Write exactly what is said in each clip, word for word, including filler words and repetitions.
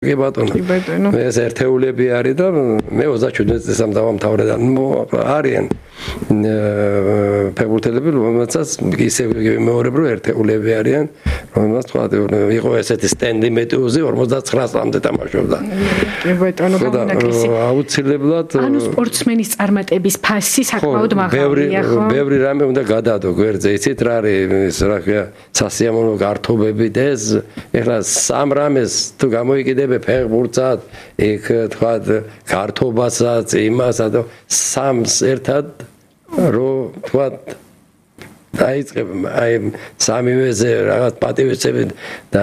კი ბატონო. ეს ერთეულები არის და მე ოცდაშვიდი წელს დავამთავრე და არიან ფეხბურთელები, რომელსაც ისე მეორებრო ერთეულები არიან, რომელსაც თქვა იყო ესეთი სტენდი მეტეოზე ორმოცდაცხრა წლამდე თამაშობდა. კი ბატონო, გამონაკლისი. აუცილებლად ანუ სპორტსმენის წარმატების ფასი საკმაოდ მაღალია, ხო? ბევრი რამე უნდა გადაადო გვერდზე, იცით რა არის რა ქვია, სასიამოვნო გართობები და ეს ეხლა სამ რამეს თუ გამოიკიდებ ფეხბურთსაც, იქ თქვა გართობასაც, იმასაც და სამს ერთად რო თქვა დაიწყებ აი სამივეზე რაღაც პატივისცემით და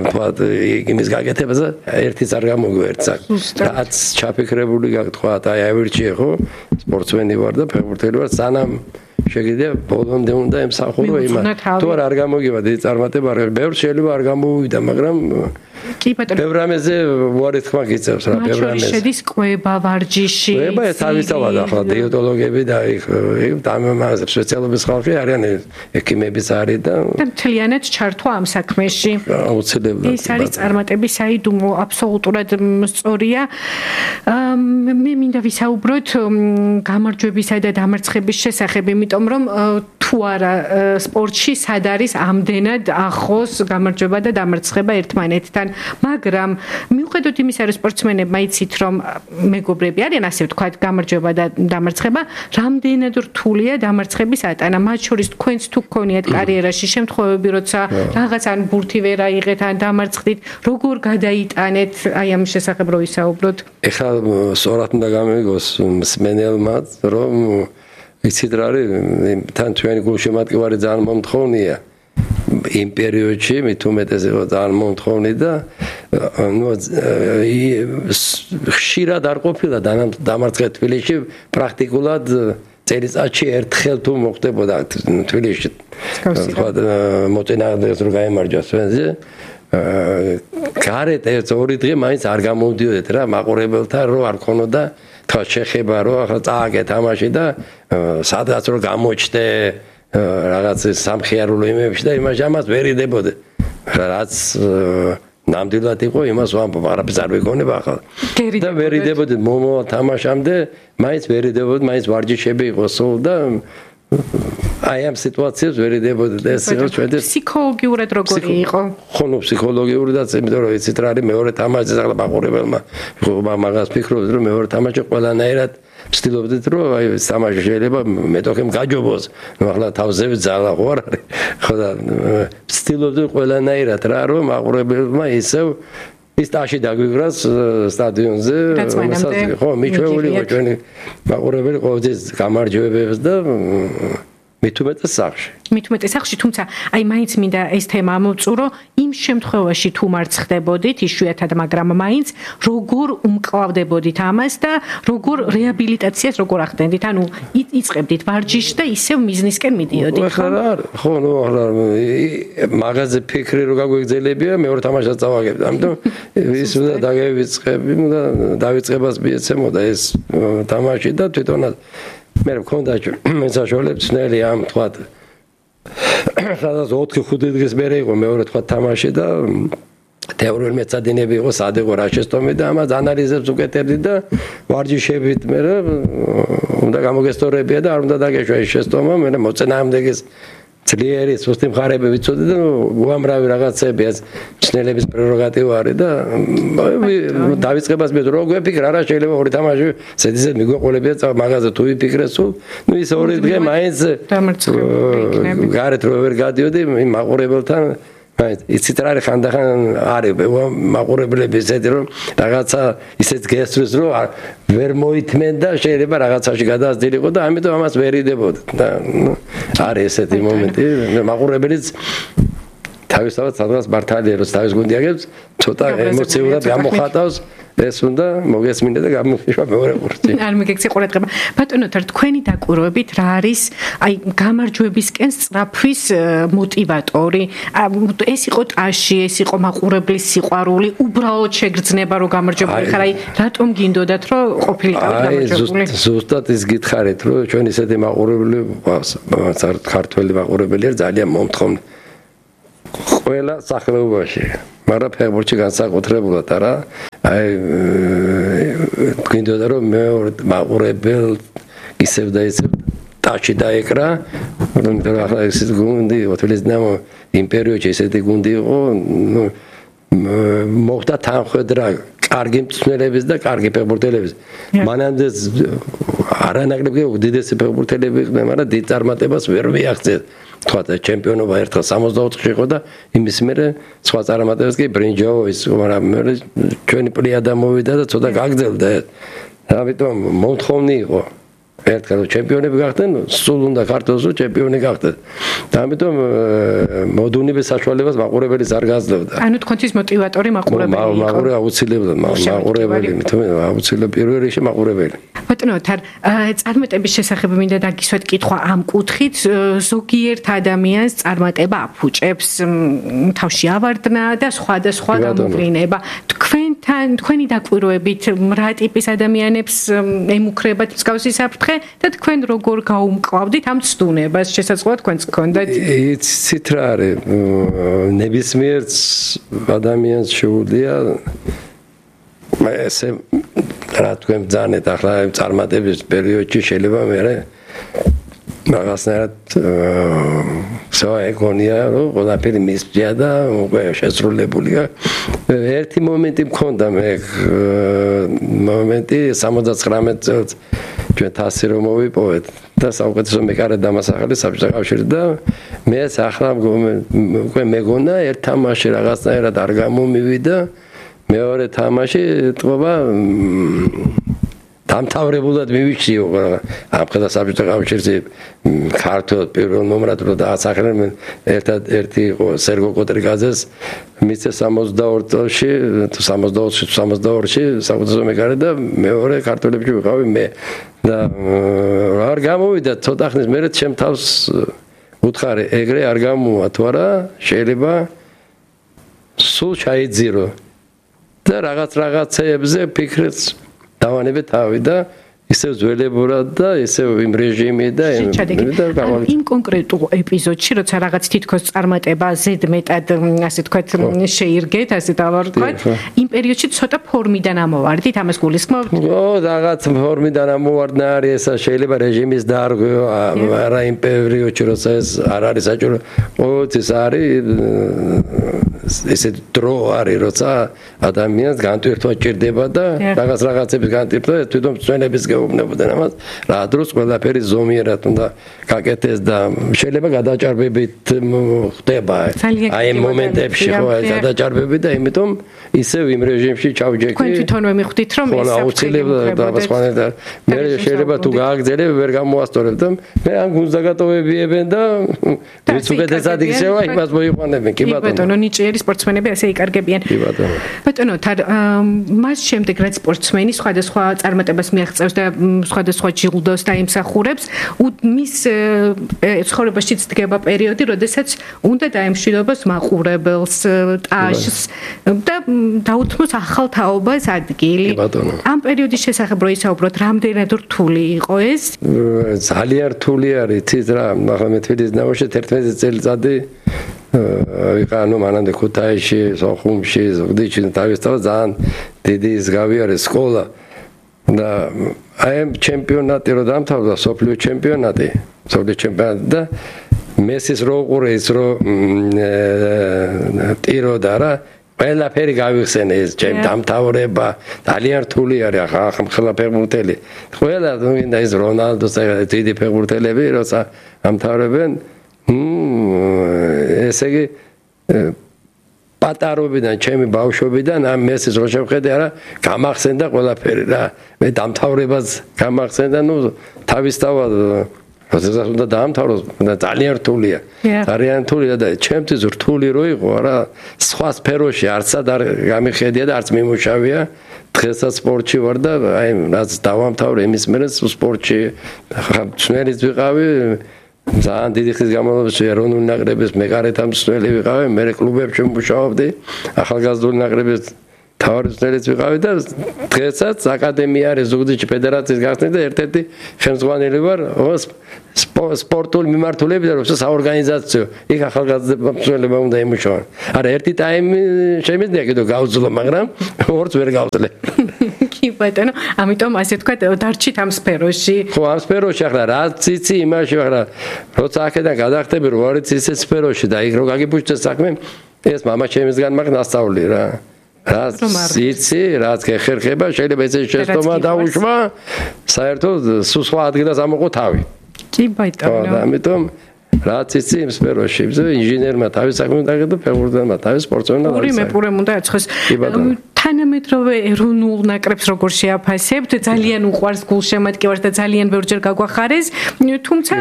თქვა იმის გაკეთებაზე ერთიც არ გამოგვერცა. რაც ჩაფიქრებული გაქვს თქვა აი ავირჩიე ხო სპორტსმენი ვარ და ფეხბურთელი ვარ სანამ შეგიძლია ბოლომდე უნდა ემსახურო იმას. თუ არ გამოგივა დიდი წარმატება არ ბევრ შეიძლება არ გამოვიდა, მაგრამ კი ბატონო. ბევრ რამეზე უარი თქმა გიწევს რა, ბევრ რამეზე. შედის კვება, ვარჯიში. კვება ეს თავისთავად ახლა დიეტოლოგები და იქ დამამაზებ სპეციალობის ხალხი არიან, ექიმებიც არის და და მთლიანად ჩართვა ამ საქმეში. აუცილებლად. ეს არის წარმატების საიდუმლო, აბსოლუტურად სწორია. მე მინდა ვისაუბროთ გამარჯვებისა და დამარცხების შესახებ, იმიტომ რომ თუ არა სპორტში სად არის ამდენად ახლოს გამარჯვება და დამარცხება ერთმანეთთან. მაგრამ მიუხედავად იმისა, რომ სპორტსმენებმა იცით, რომ მეგობრები არიან, ასე ვთქვათ, გამარჯვება და დამარცხება, რამდენად რთულია დამარცხების ატანა. მათ შორის თქვენც თუ გქონიათ კარიერაში შემთხვევები, როცა რაღაც ან ბურთი ვერ აიღეთ, ან დამარცხდით, როგორ გადაიტანეთ აი ამ შესახებ რო ვისაუბროთ? ეხლა სწორად უნდა გამიგოს მსმენელმაც, რომ იცით რა არის, თან ჩვენი გულშემატკივარი ძალიან მომთხოვნია. იმ პერიოდში მით უმეტეს იყო ძალიან მომთხოვნი და ნუ ხშირად არ ყოფილა დამარცხება თბილისში პრაქტიკულად წელიწადში ერთხელ თუ მოხდებოდა თბილისში. თქვა მოწინააღმდეგეს რო გაემარჯვეს ჩვენზე გარეთ ეს ორი დღე მაინც არ გამოვდიოდეთ რა მაყურებელთან რო არ ქონოდა თქვა შეხება რო ახლა წააგე თამაში და სადღაც რო გამოჩნდე რაღაც სამხიარულო იმებში და იმას ამას ვერ იდებოდე. რაც ნამდვილად იყო იმას ვამბობ, არაფერს არ ვიგონება ახლა. და ვერ იდებოდე მომავალ თამაშამდე, მაინც ვერ იდებოდე, მაინც ვარჯიშები იყო სულ და აი ამ სიტუაციებს ვერ იდებოდე და ეს იყო ჩვენ ფსიქოლოგიურად როგორი იყო? ხო, ნუ ფსიქოლოგიურადაც, იმიტომ რომ იცით რა არის მეორე თამაშზე ახლა მაყურებელმა მაგას ფიქრობთ რომ მეორე თამაში ყველანაირად ვცდილობდით რომ აი თამაში შეიძლება მეტოქემ გაჯობოს. ნუ ახლა თავზე ვძალა ხო არ არის. ხო და ვცდილობდით ყველანაირად რა რომ მაყურებელმა ისევ ის ტაში დაგვიგრას სტადიონზე. ხო, მიჩვეული იყო ჩვენი მაყურებელი ყოველთვის გამარჯვებებს და მით უმეტეს სახში. მით უმეტეს სახში, თუმცა აი მაინც მინდა ეს თემა ამოვწურო, იმ შემთხვევაში თუ მარცხდებოდით, იშვიათად, მაგრამ მაინც როგორ უმკლავდებოდით ამას და როგორ რეაბილიტაციას როგორ ახდენდით? ანუ იწყებდით ვარჯიშს და ისევ მიზნისკენ მიდიოდით, ხო? ხო, ნუ ახლა მაღაზე ფიქრი რო გაგვეგზელებია, მეორე თამაშსაც წავაგებდა. ამიტომ ის უნდა დაგევიწყები და დავიწყებას მიეცემოდა ეს თამაში და თვითონაც მე მქონდა მესაშოლებს ნელი ამ თქვა სადაც ოთხი ხუთი დღის მერე იყო მეორე თქვა თამაში და თეორიული მეცადინები იყო სად იყო რა შეცდომი და ამას ანალიზებს უკეთებდი და ვარჯიშებით მე უნდა გამოგესწორებია და არ უნდა დაგეშვა ეს შეცდომა მე მოწინააღმდეგეს ძლიერი სუსტი მხარეები ვიცოდი და უამრავი რაღაცები ეს მცნელების პრეროგატივა არის და დავიწყებას მე რო გვეფიქრა რა შეიძლება ორი თამაში ზედიზე მიგვეყოლებია მაგაზე თუ ვიფიქრე სულ ნუ ის ორი დღე მაინც გარეთ რო ვერ გადიოდი იმ მაყურებელთან მაინც იცით რა არის ხანდახან არის მაყურებლები ისეთი რომ რაღაცა ისეთ გესწრეს რომ ვერ მოითმენ და შეიძლება რაღაცაში გადაასდილიყო და ამიტომ ამას ვერ იდებოდ და არის ესეთი მომენტი მაყურებელიც თავისთავად სადღაც მართალია რომ თავის გუნდი აგებს ცოტა ემოციურად გამოხატავს ეს უნდა მოგესმინე და გამოვიშვა მეორე ყურთი. არ მიგექცე ყურადღება. ბატონო, თქვენი დაკვირვებით რა არის აი გამარჯვებისკენ სწრაფვის მოტივატორი? ეს იყო ტაში, ეს იყო მაყურებლის სიყვარული, უბრალოდ შეგრძნება რომ გამარჯვებული ხარ, აი რატომ გინდოდათ რომ ყოფილიყავით გამარჯვებული? აი ზუსტად ის გითხარით რომ ჩვენ ისეთი მაყურებელი გვყავს, ქართველი მაყურებელია ძალიან მომთხოვნი. ყველა სახეობაში მაგრამ ფეხბურთში განსაკუთრებულად არა. აი გვინდოდა რომ მეორე მაყურებელ ისევ და ისევ ტაჩი დაეკრა, რომ ახლა ესეთ გუნდი ოთლის ნამო იმ პერიოდში ესეთი გუნდი იყო, ნუ მოხდა თანხმდრა კარგი მწვრთნელების და კარგი ფეხბურთელების. მანამდე არანაკლები უდიდესი ფეხბურთელები იყვნენ, მაგრამ დიდ წარმატებას ვერ მიაღწიეს. თქვა ჩემპიონობა ერთხელ სამოცდაოთხში იყო და იმის მერე სხვა წარმატებებს კი ბრინჯაოს, მაგრამ ჩვენი პლიადა მოვიდა და ცოტა გაგრძელდა. ამიტომ მომთხოვნი იყო. ერთხელ ჩემპიონები გახდნენ, სულ უნდა ქართულს ჩემპიონი გახდეს. და ამიტომ მოდუნების საშუალებას მაყურებელიც არ გაძლევდა. ანუ თქვენთვის მოტივატორი მაყურებელი იყო. მაყურებელი აუცილებლად, მაყურებელი, აუცილებლად პირველ რიგში მაყურებელი. ბატონო, თან წარმატების შესახებ მინდა დაგისვათ კითხვა ამ კუთხით, ზოგიერთ ადამიანს წარმატება აფუჭებს, თავში ავარდნა და სხვა და სხვა გამოვლინება. თქვენთან, თქვენი დაკვირვებით, რა ტიპის ადამიანებს ემუქრებათ მსგავსი საფრთხე და თქვენ როგორ გაუმკლავდით ამ ცდუნებას? შესაძლოა თქვენც გქონდეთ? იცით რა არის, ნებისმიერ ადამიანს შეუძლია ესე რა თქვენ ბრძანეთ ახლა წარმატების პერიოდში შეიძლება მე რაღაცნაირად სხვა ეგონია რომ ყველაფერი მისწია და უკვე შესრულებულია. ერთი მომენტი მქონდა მე მომენტი სამოცდათხრამეტ წელს ჩვენ თასი რომ მოვიპოვეთ და საუკეთესო მეკარე დამასახელი საბჭოთა კავშირი და მეც ახლა უკვე მეგონა ერთ თამაში რაღაცნაირად არ გამომივიდა. მეორე თამაში თქობა დამთავრებულად მივიქციო ამ ხელა საბჭოთა კავშირში ქართულ პირველ ნომრად რო დაასახელენ ერთადერთი იყო სერგო კოტრიკაძეს მისცე სამოცდაორ წელში სამოცდაოთხში სამოცდაორში საუკეთესო მეკარე და მეორე ქართველებში ვიყავი მე და არ გამოვიდა ცოტა ხნის მერე ჩემ თავს უთხარი ეგრე არ გამოვა თუ არა შეიძლება სულ ჩაიძირო და რაღაც რაღაცეებზე ფიქრიც დავანებე თავი და ისევ ძველებურად და ისევ იმ რეჟიმი და იმ კონკრეტულ ეპიზოდში როცა რაღაც თითქოს წარმატება ზედმეტად ასე თქვათ შეირგეთ ასე დავარქვათ იმ პერიოდში ცოტა ფორმიდან ამოვარდით ამას გულისხმობთ? ო რაღაც ფორმიდან ამოვარდნა არის ესა შეიძლება რეჟიმის დარღვევა არა იმ პერიოდში როცა ეს არ არის საჭირო ოც ეს არის ესე დრო არის როცა ადამიანს განტვირთვა ჭირდება და რაღაც რაღაცების განტვირთვა თვითონ წვენების გეუბნებოდნენ ამას რა დროს ყველაფერი ზომიერად უნდა გაკეთდეს და შეიძლება გადაჭარბებით ხდება აი ამ მომენტებში ხო აი გადაჭარბები და იმიტომ ისევ იმ რეჟიმში ჩავჯექი თქვენ თვითონვე მიხვდით რომ ეს აუცილებლად და მე შეიძლება თუ გააგრძელებ ვერ გამოასწორებ და მე ამ გუნდს დაგატოვებიებენ და ვიც უკეთესად იქცევა იმას მოიყვანებენ კი ბატონო ბატონო ნიჭიერი სპორტსმენები ასე იკარგებიან კი ბატონო ბატონო თან მას შემდეგ რაც სპორტსმენი სხვადასხვა წარმატებას მიაღწევს და სხვადასხვა ჯილდოს დაიმსახურებს მის ცხოვრებაშიც დგება პერიოდი როდესაც უნდა დაემშვიდობოს მაყურებელს ტაშს და დაუთმოს ახალ თაობას ადგილი ამ პერიოდის შესახებ რო ისაუბროთ რამდენად რთული იყო ეს ძალიან რთული არის თის რა ახლა მე თვითონ ნავში თერთმეტი წელიწადი ვიყანო მანამდე ქუთაისში, სოხუმში, ზუგდიდში თავისთავად ძალიან დიდი ის გავიარე სკოლა და აი ამ ჩემპიონატი რო დამთავრდა, სოფლიო ჩემპიონატი, სოფლიო ჩემპიონატი და მესის რო უყურე ის რო ტიროდა რა ყველაფერი გავიხსენე ეს ჩემ დამთავრება ძალიან რთული არის ახლა ახლა ფეხბურთელი ყველა მინდა ის რონალდოს დიდი ფეხბურთელები როცა დამთავრებენ ესე იგი პატარობიდან ჩემი ბავშვობიდან ამ მესის რო შევხედე არა გამახსენდა ყველაფერი რა მე დამთავრებას გამახსენდა ნუ თავისთავად როდესაც უნდა დაამთავროს და ძალიან რთულია ძალიან რთულია და ჩემთვის რთული რო იყო რა სხვა სფეროში არცად არ გამიხედია და არც მიმუშავია დღესაც სპორტში ვარ და აი რაც დავამთავრე იმის მერე სპორტში ხმელიც ვიყავი ძალიან დიდი ხნის განმავლობაში ეროვნული ნაკრების მეკარეთა მსვლელი ვიყავი, მე კლუბებში მუშაობდი, ახალგაზრდული ნაკრების თავისუფლად ვიყავი და დღესაც აკადემია არის ზუგდიდში ფედერაციის გახსნით და ერთ-ერთი ხელმძღვანელი ვარ სპორტულ მიმართულებით და საორგანიზაციო იქ ახალგაზრდებმა უნდა იმუშაონ. არა ერთი ტაიმი შემიძლია კიდევ გავძლო, მაგრამ ორს ვერ გავძლე. კი ბატონო, ამიტომ ასე თქვა დარჩით ამ სფეროში. ხო, ამ სფეროში ახლა რაც იცი იმაში ახლა როცა აქედან გადახტები რო არის ისე სფეროში და იქ რო გაგიბუჩდე საქმე ეს მამა ჩემისგან მაგ ნასწავლი რა. რაც იცი, რაც გეხერხება, შეიძლება ესე შეცდომა დაუშვა, საერთოდ სულ სხვა ადგილას ამოყო თავი. კი ბატონო. და ამიტომ რაც იცი იმ სფეროში, ინჟინერმა თავის საქმე დაგედო, ფეხბურთელმა თავის სპორტსმენმა. ორი მეპურემ უნდა ეცხოს. თანამედროვე ეროვნულ ნაკრებს როგორ შეაფასებთ? ძალიან უყვარს გულშემატკივარს და ძალიან ბევრჯერ გაგვახარეს, თუმცა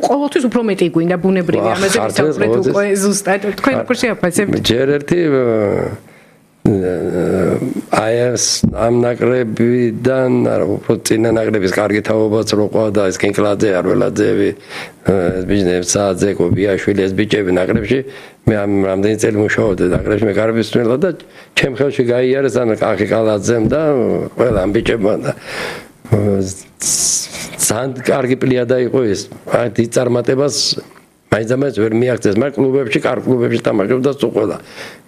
ყოველთვის უფრო მეტი გვინდა ბუნებრივი ამაზე ვისაუბრეთ უკვე ზუსტად. თქვენ როგორ შეაფასებთ? ჯერ ერთი აი ეს ამ ნაკრებიდან, არა, უფრო წინა ნაკრების კარგი თაობაც რო ყვა და ეს კინკლაძე, არველაძეები, ეს ბიჟნევცაძე, კობიაშვილი, ეს ბიჭები ნაკრებში, მე ამ რამდენი წელი მუშაობდი ნაკრებში, მე კარგი მსმენელი და ჩემ ხელში გაიარეს ან კახი კალაძემ და ყველა ამ ბიჭებმა და ძალიან კარგი პლიადა იყო ეს. აი დიდ წარმატებას მაინც ვერ მიაღწევს, მაგრამ კლუბებში, კარგ კლუბებში თამაშობდა სულ ყველა.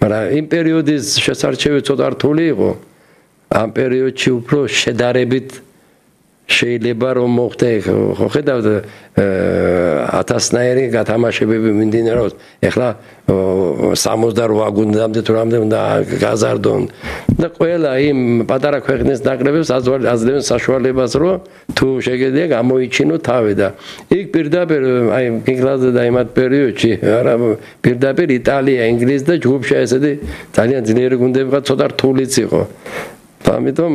მაგრამ იმ პერიოდის შესარჩევი ცოტა რთული იყო. ამ პერიოდში უფრო შედარებით შეიძლება რომ მოხდე, ხო ხედავთ ათასნაირი გათამაშებები მიმდინარეობს. ეხლა სამოცდაორი გუნდამდე თუ რამდენი უნდა გაზარდონ და ყველა იმ პატარა ქვეყნის ნაკრებებს აძლევენ საშუალებას, რომ თუ შეგედია გამოიჩინო თავი და იქ პირდაპირ აი კინკლაძე და იმათ პერიოდში არა პირდაპირ იტალია, ინგლისი და ჯგუფში ესეთი ძალიან ძლიერი გუნდები ყავდა, ცოტა რთულიც იყო. ამიტომ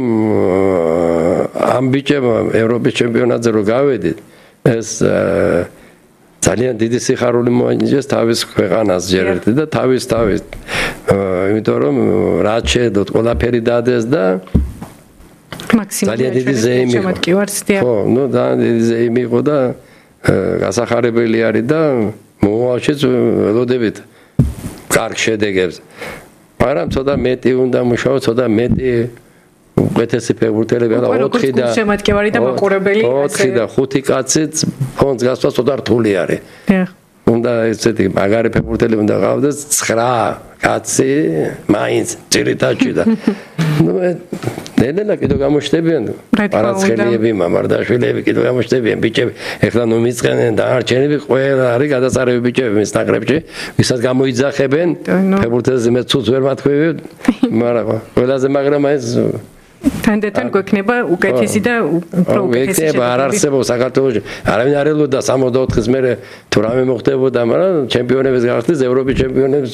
ამ ბიჭებმა ევროპის ჩემპიონატზე რო გავედით, ეს ძალიან დიდი სიხარული მოანიჭეს თავის ქვეყანას ჯერ ერთი და თავის თავის. იმიტომ რომ რაც შეედოთ ყველაფერი დადეს და მაქსიმალურად დიდი ზეიმი იყო. ხო, ნუ ძალიან დიდი ზეიმი იყო და გასახარებელი არის და მომავალშიც ველოდებით კარგ შედეგებს. მაგრამ ცოტა მეტი უნდა მუშაო, ცოტა მეტი უკეთესი ფეხბურთელები არა ოთხი და შემატკივარი და მაყურებელი ოთხი და ხუთი კაციც ფონდს გასვლა ცოტა რთული არის. უნდა ესეთი მაგარი ფეხბურთელი უნდა ყავდეს ცხრა კაცი მაინც ძირითადში და ნუ ნელა კიდევ გამოჩნდებიან პარაცხელიები, მამარდაშვილები კიდევ გამოჩნდებიან ბიჭები. ეხლა ნუ მიწყენენ დანარჩენები ყველა არის გადასარევი ბიჭები მის ნაკრებში, ვისაც გამოიძახებენ ფეხბურთელზე მე ცუც ვერ მათქვევი, მაგრამ ყველაზე მაგრამ ეს თანდათან გვექნება უკეთესი და უფრო უკეთესი შედეგები. არ არსებობს საქართველოში. არავინ არ ელოდა სამოცდაოთხის მერე თუ რამე მოხდებოდა, მაგრამ ჩემპიონების გახდეს, ევროპის ჩემპიონებს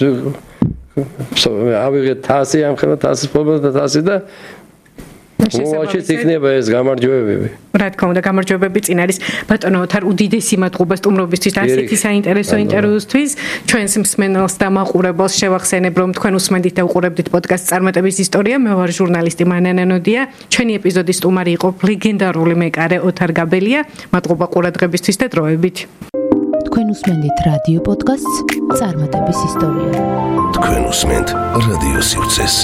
ავიღეთ თასი, ამ ხელა თასის ფლობა და თასი და მოაჩვენეთ იქნება ეს გამარჯვებები. რა თქმა უნდა, გამარჯვებები წინ არის. ბატონო ოთარ, უდიდესი მადლობა სტუმრობისთვის და ასეთი საინტერესო ინტერვიუსთვის. ჩვენს მსმენელს და მაყურებელს შევახსენებ, რომ თქვენ უსმენთ და უყურებთ პოდკასტ წარმატების ისტორია. მე ვარ ჟურნალისტი მანანა ნოდია. ჩვენი ეპიზოდის სტუმარი იყო ლეგენდარული მეკარე ოთარ გაბელია. მადლობა ყურადღებისთვის და დროებით. თქვენ უსმენთ რადიო პოდკასტს წარმატების ისტორია. თქვენ უსმენთ რადიო სივრცეს.